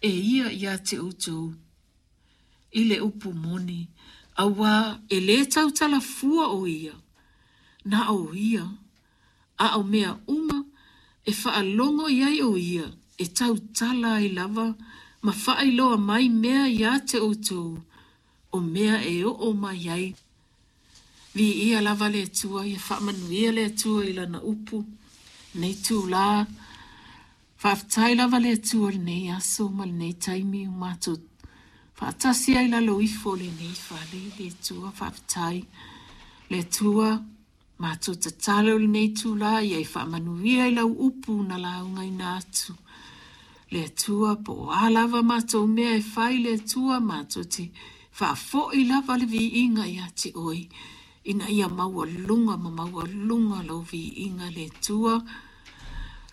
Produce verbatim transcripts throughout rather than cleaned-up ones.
e ia iā te outou i le upu moni, auā e lē tautala fua o ia, na o ia, a o mea uma e faalogo i ai o ia e tautala ai lava ma faailoa mai mea iā te outou o mea e oo mai ai. Viia lava le Atua, ia faamanuia le Atua i lana upu lenei itulā. Faafetai lava le Atua i lenei aso ma lenei taimi ua matou faatasi ai i lalo ifo o lenei fale. Le Atua, faafetai. Le Atua, matou tatalo i lenei itulā ia e faamanuia i lau upu na laugaina atu. Le Atua, po o a lava matou mea e fai, le Atua, matou te faafoi lava le viiga ia te oe, ina ia maualuga ma maualuga lou viiga, le Atua,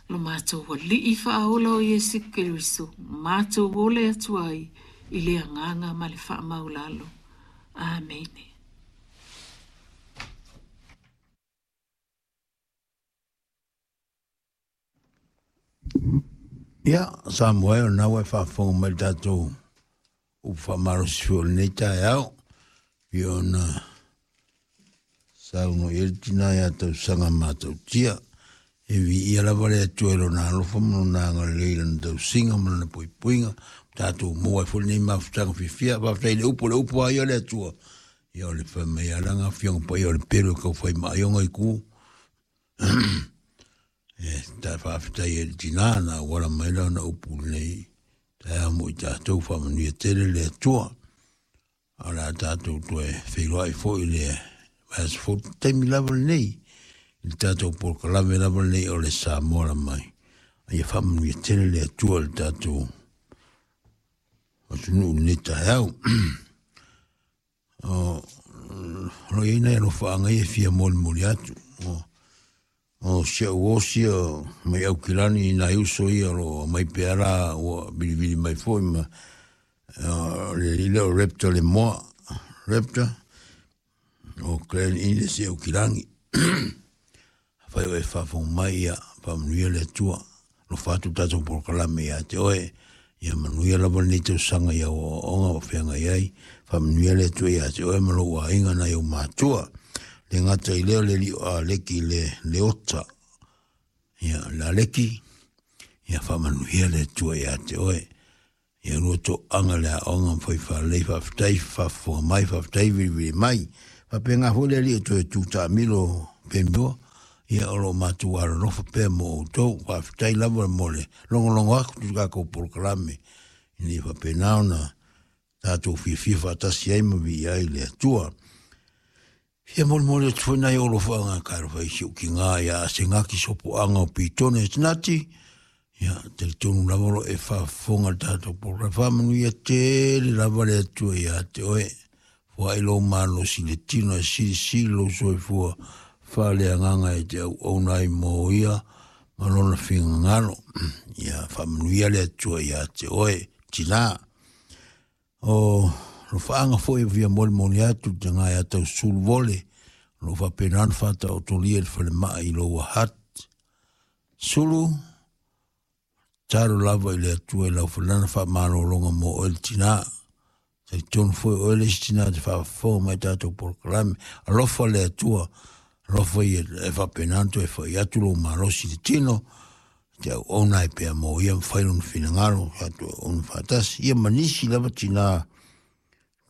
lo matou Alii faaola o Iesu Keriso, matou ole atu ai i le agaga ma le faamaulalo. Amene. Ia, Samoa e, o lena ua e faafofoga mai i le tatou upu faamalosi foi o lenei taeao, pei ona saunoa i ai le tina ia Tausaga Matautia. E viia lava le Atua i lona alofa ma lona agalelei i lana tausiga ma lana puipuiga, tatou maua ai foi lenei mafutaga fiafia. Faafetai i le upu, o le upu lava ia o le Atua. Ia o le fai mai lava lana afioga paia o le pelu e tau fai maaioga i ku. E ta faafetai ai i le tina na auala mai lana upu lenei taeao mo i tatou, faamanuia tele le Atua. A o le a tatou toe feiloai foi i le vaiaso fou taimi lava lenei, i le tatou polokalame lava lenei o le Samoa la mai. A ia faamanuia tele le Atua i le tatou atunuu i lenei taeao. O lo o i ai nai alofaaga ia e fia molimoli atu. O, o si au osi o mai Aukilani i nai uso ia o lo o aumai pea la ua vilivili mai foi ma o le alii lea o Raptor le Moa, Raptor o Clan Innes i Aukilani. Afai o e faafofoga mai, ia faamanuia le Atua. Alofa atu le tatou polokalame ia te oe. Ia manuia lava lenei tausaga i au aoaoga o feagai ai. Faamanuia le Atua ia te oe ma lou aiga nai ou matua. Le gata i lea o le alii o Aleki le Leota. Ia, le Aleki, ia faamanuia le Atua ia te oe. Ia lua toaga le aoga ma fai faalelei, faafetai faafofoga mai, faafetai vilivili mai. Faapena foi le alii o toe tu taamilo Pemioa, ia o lo o matou alolofa pea mo outou. Faafetai lava mo le logologo atu i le tatou polokalame, ina ia faapena ona tatou fiafia faatasi ai ma viia ai le Atua. Fia molimoli atu foi nai ou alofaaga ka alofa i si ou tina ia Asenati Sopoaga o Pitone Asenati. Ia, talitonu lava o lo o e faafofoga i le tatou polokalame. Faamanuia tele lava le Atua ia te oe. Foai lou malosi i le tino e silisili lou soifua faaleagaga e te auauna ai mo ia ma lona finagalo. Ia faamanuia le Atua ia te oe, tina. O alofaaga foi e fia molimoli atu i le taga ia Tausulu Vole, o lo o faapena ona faataotolia i le falemai i Lower Hutt. Sulu, tatalo lava i le Atua i lau falana faamalologa mo oe le tina. Talitonu foi o oe le isi tina te faafofoga mai tatou polokalame. Alofa le Atua, alofa ia e faapena ona toe fai atu lou malosi i le tino, te auauna ai pea mo ia ma fai lona finagalo, tatou auauna faatasi. Ia ma nisi lava tina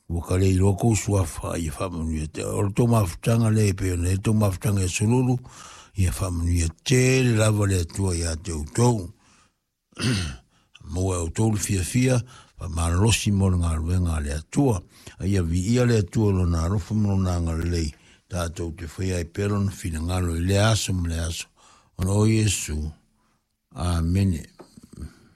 ua ka le iloa kou suafa, ia faamanuia te. O le tou mafutaga lea e pei ona i ai le tou mafutaga ia Sululu, ia faamanuia tele lava le Atua ia te outou. Maua e outou le fiafia, faamalolosi mo le galuega a le Atua. A ia viia le Atua i lona alofa ma lona agalelei, tatou te faia ai pea lona finagalo i lea aso ma lea aso, ona o Iesu. Amene.